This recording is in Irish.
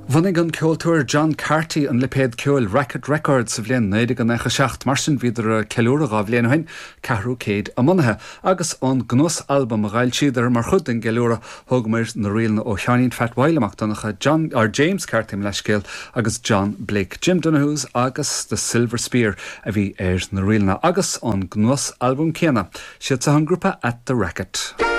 Bhunaigh an ceoltóir John Carty an lipéad ceoil Racket Records sa bhliain 1997, mar sin bhíodar ag ceiliúradh 2 bhliain ó shin, ceathrú céid a mbunaithe, agus ón gcnuas-albam a dh'fhoilsíodar mar chuid den gceiliúradh, thógamair na ríleanna ó Sheáinín Phat Mhichael Mac Donncha, John, or James Carty mo leithscéal, agus John Blake. Jim Donoghue's agus The Silver Spear a bhí ar na ríleanna, agus ón gcnuas-albam céanna, siad seo an grúpa At The Racket.